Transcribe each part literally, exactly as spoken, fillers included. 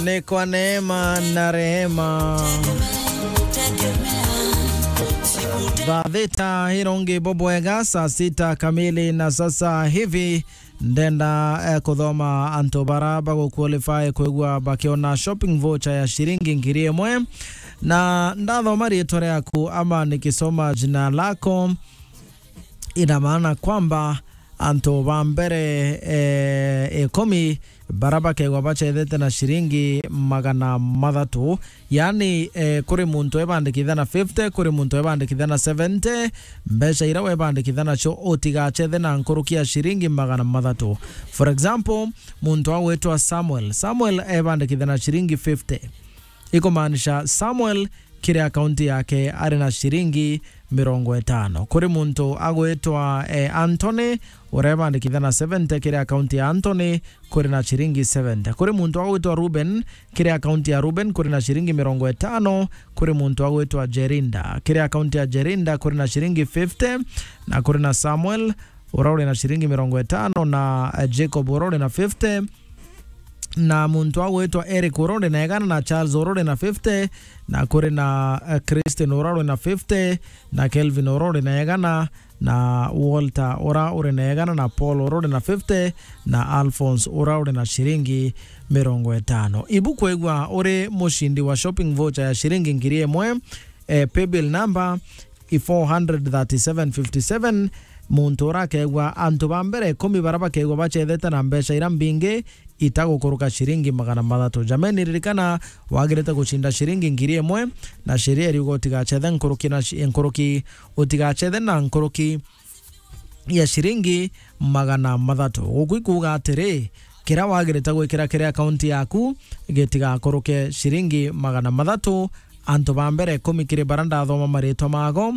Ni kwa neema na rehema. Thaa thita irongi bubwega, saa sita kamili na sasa hivi. Ndenda, eh, kuthoma antu bara baguqualify kwigua bakiona shopping voucher ya shiringi ngiri imwe. Na ndathoma riitwa riaku ama nikisoma jina lako, ina maana kwamba antu ba mbere, eh, ikumi bara bakegwa bachethete na shiringi magana mathatu. Yani, eh, kuri muntu ebandikitha na fifty, kuri muntu ebandikitha na seventy, mbeca ira webandikitha nacio utigachethe na nkuruki ya shiringi magana mathatu. For example, muntu agwitwa Samuel. Samuel ebandikitha na shiringi fifty. Ikumaanisha Samuel kiri akaunti yake ari na shiringi mirongo itano. Kuri muntu agwitwa, eh, Anthony, urebandikitha na seventy kiri akaunti ya Anthony, kuri na shiringi seventy. Kuri muntu agwitwa Ruben, kiri akaunti ya Ruben, kuri na shiringi mirongo itano. Kuri muntu agwitwa Jerinda, kiri akaunti ya Jerinda, kuri na shiringi fifty. Na kuri na Samuel, ura uri na shiringi mirongo itano, na, eh, Jacob, ura uri na fifty. Na muntu agwitwa Eric, ura uri na igana, na Charles, ura uri na fifty, na kuri na, eh, Christine, ura uri na fifty, na Kelvin, ura uri na igana, na Walter, ura uri na igana, na Paul, ura uri na fifty, na Alphonse, ura uri na shiringi mirongo itano. Ibu kwigua uri mushindi wa shopping voucher ya shiringi ngiri imwe, eh, paybill number i four hundred thirty-seven fifty-seven. Muntu ura akegwa antu ba mbere ikumi bara bakegwa bachethete na mbeca ira mbingi itagukuruka shiringi magana mathatu. Jameni, ririkana, wagirite gucinda shiringi ngiri imwe, na sheria iriuga utigachethe nkuruki na shi-, nkuruki, utigachethe na nkuruki ya shiringi magana mathatu. Guku ikuuga atiri, kira wagirite gwikira kiri akaunti yaku gitigakuruke shiringi magana mathatu. Antu ba mbere ikumi kiri bara ndathoma maritwa mago,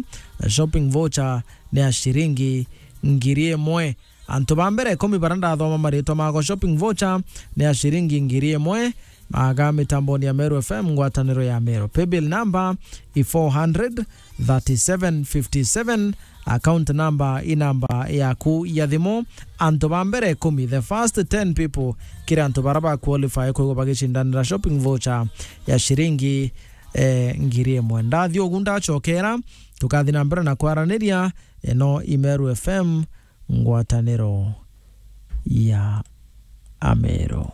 shopping voucher ni ya shiringi ngiri imwe. Antu ba mbere ikumi bara ndathoma maritwa mago, shopping voucher ni ya shiringi ngiri imwe. Aga mitamboni ya Meru F M, ngwataniro ya Meru. Paybill number i four hundred thirty-seven fifty-seven. Account number i namba yaku ya thimu. Antu ba mbere ikumi, the first ten people, kiri antu bara ba qualify kwigwa bagicindanira shopping voucher ya shiringi, eh, ngiri imwe. Ndathi ugu ndachokera, tukathi na mbere na kwaraniria. Ino i Meru F M, ngwataniro ya Ameru.